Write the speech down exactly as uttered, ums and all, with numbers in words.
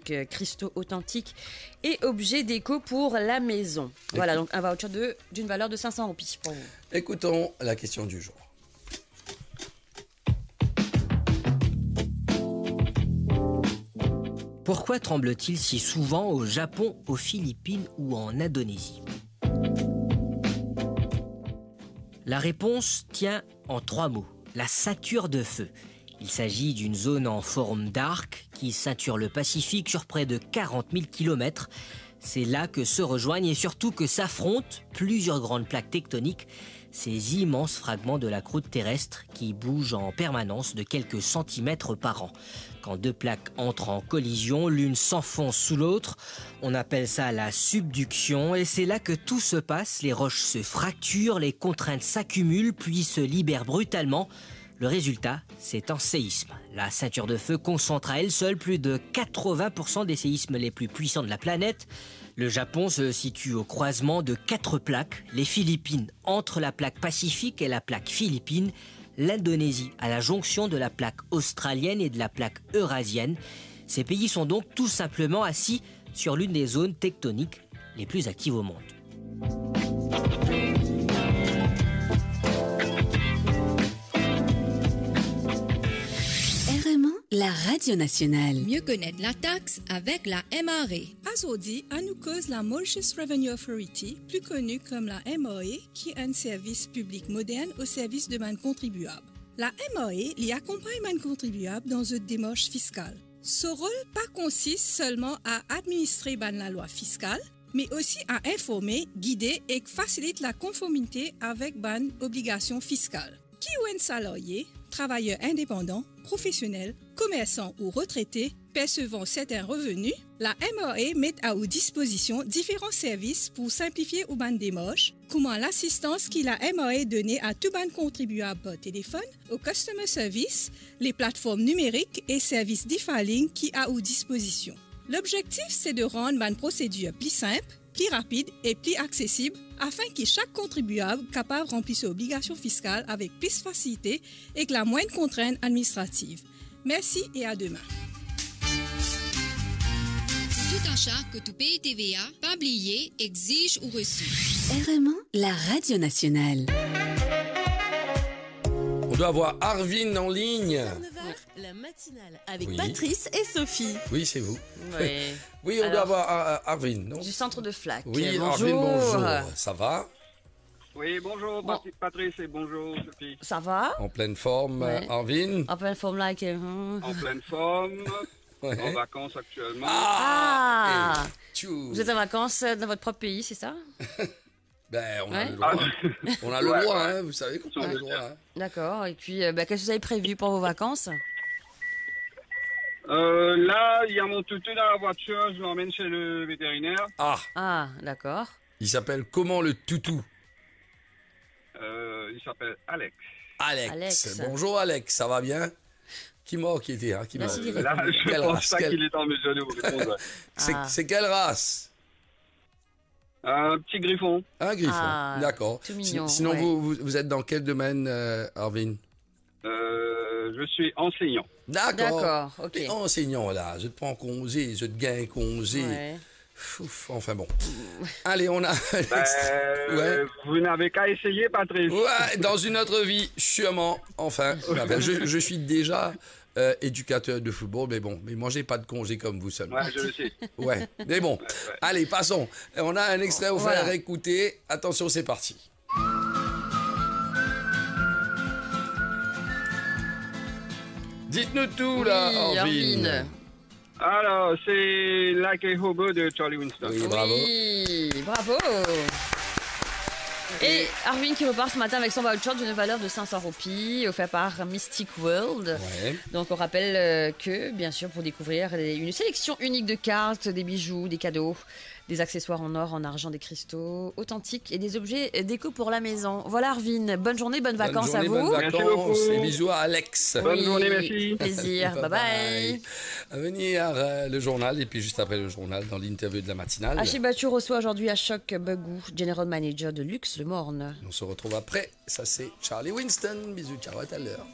choc, euh, cristaux authentiques et objets déco pour la maison. Voilà, donc un voucher de, d'une valeur de cinq cents roupies pour vous. Écoutons la question du jour. Pourquoi tremble-t-il si souvent au Japon, aux Philippines ou en Indonésie ? La réponse tient en trois mots, la ceinture de feu. Il s'agit d'une zone en forme d'arc qui ceinture le Pacifique sur près de quarante mille kilomètres. C'est là que se rejoignent et surtout que s'affrontent plusieurs grandes plaques tectoniques, ces immenses fragments de la croûte terrestre qui bougent en permanence de quelques centimètres par an. Quand deux plaques entrent en collision, l'une s'enfonce sous l'autre, on appelle ça la subduction et c'est là que tout se passe, les roches se fracturent, les contraintes s'accumulent puis se libèrent brutalement. Le résultat, c'est un séisme. La ceinture de feu concentre à elle seule plus de quatre-vingts pour cent des séismes les plus puissants de la planète. Le Japon se situe au croisement de quatre plaques, les Philippines entre la plaque pacifique et la plaque philippine, l'Indonésie à la jonction de la plaque australienne et de la plaque eurasienne. Ces pays sont donc tout simplement assis sur l'une des zones tectoniques les plus actives au monde. R M A, la radio nationale. Mieux connaître la taxe avec la M R A. Azordi, anou koz la Mauritius Revenue Authority, pli koni kom la M R A, ki enn servis piblik modern o servis de bann kontribiab. La M R A, li akonpagn bann kontribiab dan zot demars fiskal. So rol pa konsist selman a administre bann lalwa fiskal, me osi a informe, gide ek fasilit lakonformite avek bann obligasion fiskal. Ki ou enn salarie, travayer indepandan, profesionel, komersan ou retrete, persevan sertin reveni, la M R A met a ou dispozision diferan servis pou sinplifie ou bann demars, kouma lasistans ki la M R A done a tou bann kontribiab par telefonn, o customer service, le platform nimerik e servis e-filing ki a ou dispozision. Lobzektif se de rann bann prosedir pli sinp, pli rapid e pli aksesib, afin ki sak kontribiab kapav ranpli so obligasion fiskal avek plis fasilite ek la mwin kontrint administrativ. Mersi e a demin. Tout achat kot ou pey T V A, pa bliye, exiz ou resi. R M A, la radio nationale. On doit avoir Arvin en ligne. Six heures, neuf heures, la matinale avec Oui. Patrice et Sophie. Oui, c'est vous. Ouais. Oui, on Alors, doit avoir Ar-, Ar-, Arvin, non ? Du centre de Flac. Oui, Arvin, bonjour. Bonjour. Ça va ? Oui, bonjour, Bon. Patri-, Patrice, et bonjour, Sophie. Ça va ? En pleine forme, Ouais. Arvin. En pleine forme, là, avec, euh, En pleine forme, Ouais. en vacances actuellement. Ah, Ah. Et tchou. Vous êtes en vacances, euh, dans votre propre pays, c'est ça ? Ben, on a Ouais. le droit. Ah. On a le Ouais. droit, hein, vous savez qu'on a le Ouais. droit, hein. D'accord. Et puis, euh, ben, qu'est-ce que vous avez prévu pour vos vacances ? Euh, là, il y a mon toutou dans la voiture, je l'emmène chez le vétérinaire. Ah. Ah, d'accord. Il s'appelle comment, le toutou ? Euh, il s'appelle Alex. Alex. Alex. Bonjour, Alex, ça va bien ? Qui m'a qui était, hein, qui m'a Merci. Là, je Quelle pense race, pas quelle qu'il est en mesure de vous répondre. C'est, Ah. c'est quelle race ? Un petit griffon. Un griffon, Ah, d'accord. tout Si-, mignon, sinon, ouais. vous, vous, vous êtes dans quel domaine, euh, Arvin ? Euh, je suis enseignant. D'accord. D'accord, ok. T'es enseignant, là. Je te prends congé, je te gagne congé. Ouais. Ouf, enfin bon. Allez, on a Ben, l'extrait. Ouais. Vous n'avez qu'à essayer, Patrice. Ouais, dans une autre vie, sûrement. Enfin, enfin, je, je suis déjà euh, éducateur de football, mais bon, mais moi, j'ai pas de congé comme vous seulement. Ouais, je le sais. Ouais, mais bon. Ouais, ouais. Allez, passons. On a un extrait à vous Voilà. faire écouter. Attention, c'est parti. Dites-nous tout, là, Oui, Arvin. Arvin. Alors, c'est Like a Hobo de Charlie Winston. Oui, bravo. Oui, bravo. Et Arvin qui repart ce matin avec son voucher d'une valeur de cinq cents roupies, offert par Mystic World. Ouais. Donc, on rappelle, euh, que, bien sûr, pour découvrir les, une sélection unique de cartes, des bijoux, des cadeaux, des accessoires en or, en argent, des cristaux authentiques et des objets déco pour la maison. Voilà, Arvin, bonne journée, bonnes Bonne vacances à journée, vous. bonnes Merci vacances beaucoup. Et bisous à Alex. Bonne Oui, journée, merci. plaisir. Bye Bye bye. bye. À venir, euh, le journal, et puis juste après le journal, dans l'interview de la matinale. Achille Bathou reçoit aujourd'hui Ashok Bagu, General Manager de Luxe Le Morne. On se retrouve après. Ça, c'est Charlie Winston. Bisous, ciao, à tout à l'heure.